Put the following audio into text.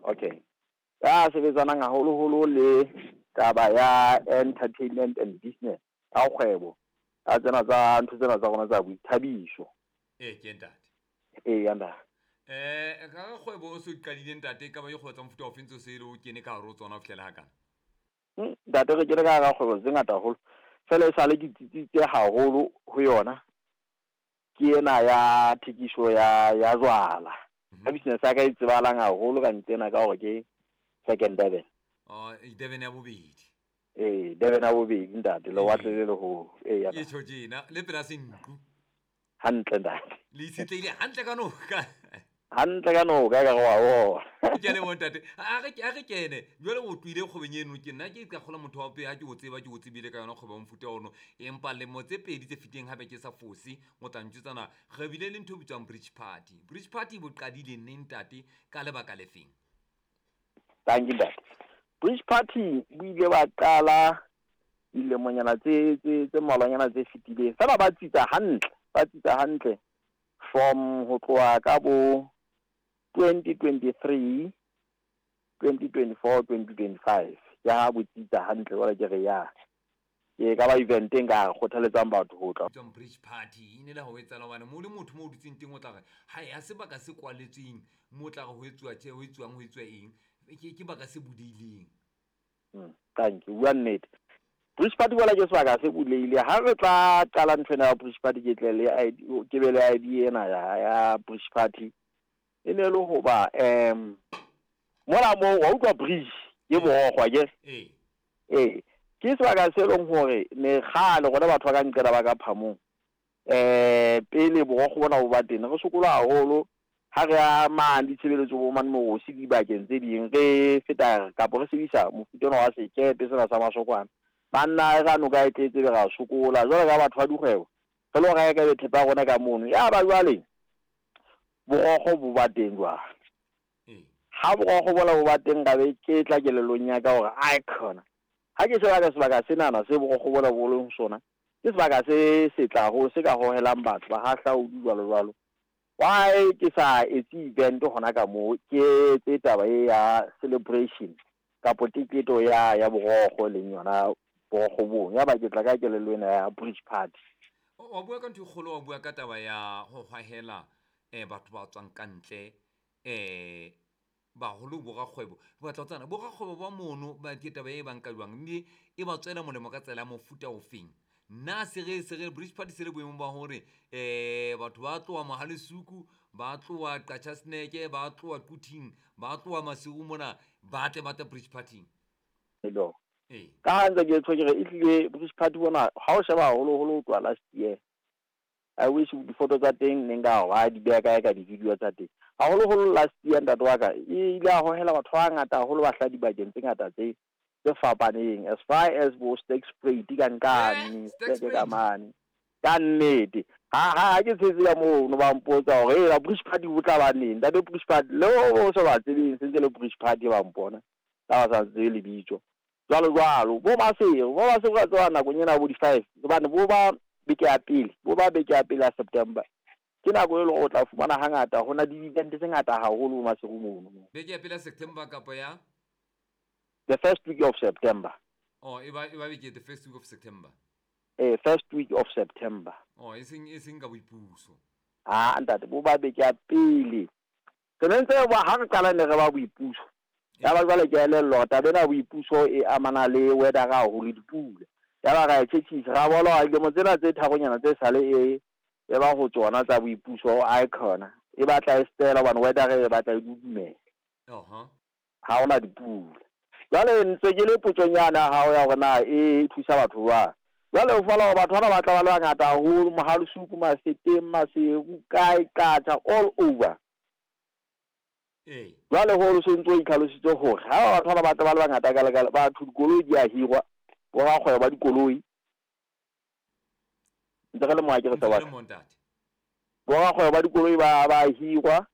Okay. Ya sebetsanang haholoholo le taba ya entertainment and business, ya kgwebo, ya tsena tsa ntho tsena tsa rona tsa boithabiso. Ee, ke ntate. Ee, ya ntate. Ka kgwebo o se o qadile ntate, e ka ba dikgwebo tsa mofuta ofe ntse o se o kene ka hare ho tsona ho fihlela hakana? Ntate, re kene ka hara kgwebo tse ngata haholo. Feela e sale ke tsitsitse haholo ho yona ke ena ya thekiso ya ya jwala. Ka business ya ka e tsebahalang haholo ka nqena ka hore ke Second Durban. Oh, Durban ya bobedi. Ee, Durban ya bobedi ntate, lewatle le leholo. Ee, ya Ke tjho tjena, le pela senku. Hantle ntate. Le itshetlehile hantle ka noka. Hantle ka noka ka re wa bona. Ke a leboha ntate. A re kene. Jwale o tlohile kgwebong eno ke nna ke ka kgola motho wa pele ha ke o tseba ke o tsebile ka yona kgwebo ya mofuta ono. Empa lemo tse pedi tse fetileng hape ke sa fose o tla ntjwetsa na re bile le ntho e bitswang bridge party. Bridge party bo qadile neng ntate ka lebaka le feng? Thank you ntate. Bridge party bo ile ba qala dilemonyana tse tse tse mmalwanyana tse fetileng. Feela ba tsitsa hantle, ba tsitsa hantle from ho tloha ka bo 2023, 2024, 2025. Ke ha bo tsitsa hantle jwale ke re ya. Ke ka ba event e nka kgothaletsang batho ho tla. Bitswang bridge party e ne le ha ho etsahala hobane mo le motho mo o dutseng teng o tla re ha ya sebaka se kwaletsweng mo o tla re ho etsuwa tje ho etsuwang ho etsuwa eng ke baka se bulehileng. Thank you, bua nnete. Bridge party bola ke sebaka se bulehile. Ha re tla qala ntho ena ya bridge party ke tle le ID, ke be le ID ena ya ya bridge party. E ne le hoba mola mo wa utlwa bridge ke borokgo akere? Ee. Ee, ke sebaka se leng hore ne kgale rona batho ba ka nqela ba ka phamong. Pele borokgo bona bo ba teng, re sokola haholo ha re ya mane ditshebeletso bo mane Morosi dibakeng tse ding, re feta kapa re sebedisa mofuta ona wa sekepe sena sa masokwana. Banna e ra noka e tletse be ra sokola. Jwale ka batho ba dikgwebo, re lo reka ebe thepa ya rona ka mono. Ya ba jwale borokgo bo ba teng jwale. Ha borokgo bona bo ba teng ka be ke tla kelellong ya ka hore ai khona. Ha ke sheba ka sebaka senana se borokgo bona bo leng sona, ke sebaka se setle haholo se ka hohelang batho ba hahlaodi jwalo jwalo. Why ke sa etse event hona ka moo, ke etse taba e ya celebration kapo teketo ya ya borokgo e leng yona borokgo bong. Ya ba ke tla ka kelello ena ya bridge party. Wa bua ka ntho e kgolo, wa bua ka taba ya ho hwahela batho ba tswang ka ntle baholo borakgwebo. Ke batla ho tseba borakgwebo ba mono ba ke taba e ba nka jwang mme e ba tswela molemo ka tsela ya mofuta ofeng? Nna se re se re bridge party se le boemong ba hore batho ba tloha Mohalesuku, ba tloha Qachaseneke, ba tloha Quthing, ba tloha Maseru mona ba tle ba tle bridge party. Hello. Ka ha ntse ke tjho ke re ehlile bridge party bona ha o sheba haholoholo ho tloha last year. I wish difoto tsa teng ne nka wa di beha kae ka di-video tsa teng. Haholoholo last year ntate wa ka e ile a hohela batho ba bangata haholo ba hlaha dibakeng tse ngata tse tse fapaneng as far as bo Sterkspruit ka nqane, Sterk ka mane. Ka nnete. Ha ha ke tshetse ka moo no ba mpotsa hore e bridge party bo tla ba neng. Ntate bridge party le o sa ba tsebeng sentse le bridge party ba mpona. Ka ba sa tsebe lebitso. Jwalo jwalo bo Maseru, bo Maseru ka tseba nakong ena bo di-5 hobane bo ba beke ya pele, bo ba beke ya pele ya September. Ke nako e leng hore o tla fumana hangata ho na le di-event tse ngata haholo bo Maseru mono. Beke ya pele ya September kapa ya The first week of September. Oh, e ba e ba beke the first week of September. First week of September. Oh, e seng e seng ka boipuso. Ah, ntate bo ba beke ya pele. Re ne ntse ba ha re qala ne re ba boipuso. Ya ba jwale ke elellwa hore taba ena ya boipuso e amana le weather haholo dipula. Ya ba ra e tjhetjhisa ra bona hore dilemo tsena tse tharonyana tse sale e e ba ho tsona tsa boipuso ae khona e batla e stela hobane weather e batla e dudumela. Ha hona dipula. Jwale ntse ke le potsong yane ya hao ya hore na e thusa batho jwang. Jwale o fumana hore batho bana ba tla ba le bangata haholo, Mohalesuku, Mafeteng, Maseru, kae, Qacha, all over. Jwale ho o sentse o itlhalositse hore ha batho bana ba tla ba le bangata ka lekala, batho dikoloi di a hirwa, bo rakgwebo ba dikoloi. Ntse re le mo ha ke re Ntse re le mo ntate. Bo rakgwebo ba dikoloi ba ba hirwa.